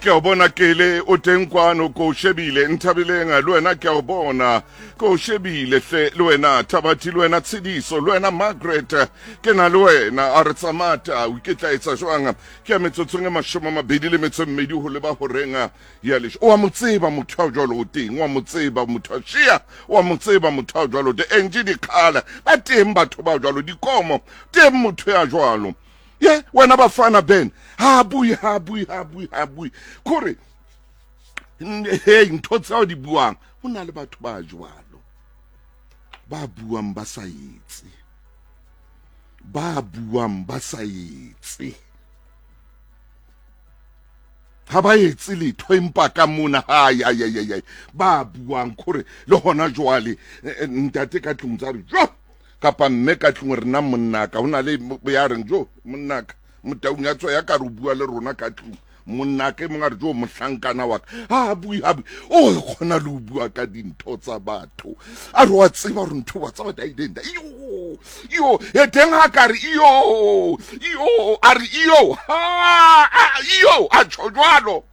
Ke a o bona Kele o teng kwano, ko o shebile. Nthabileng le wena ke a o bona, ko o shebile hle. Le wena Thabathi, le wena Tshediso, le wena Margaret, ke na le wena. A re tsamata, o iketlaetsa jwang? Ke ya metsotsong e 22 ho leba horeng ya lesho. O a mo tseba motho ya jwalo o teng, o a mo tseba motho a shia, o a mo tseba motho ya jwalo te. Enje dikgala ba teng batho ba jwalo, dikomo teng motho ya jwalo. Ye wena bafana Ben, ha bui ha bui ha bui ha bui. Kore hey ntho tseo di buang, ho na le batho ba jwalo ba buang ba sa etse, ba buang ba sa etse, ha ba etse letho empa ka mona hai ai ai ai ba buang kore le hona jwale ntate ka tlung tsa re jo kapa mme ka tlung re na monnaka ho na le ya reng jo monnaka motaung ya tswa ya ka re bua le rona ka tlung monnaka e mongwe a re jo mohlankana wa ka ha bue ha bue o kgona le ho bua ka dintho tsa batho a re wa tseba gore ntho wa tseba daidenda iyo iyo e teng ha ka re iyo iyo a re iyo ha iyo a tjho jwalo.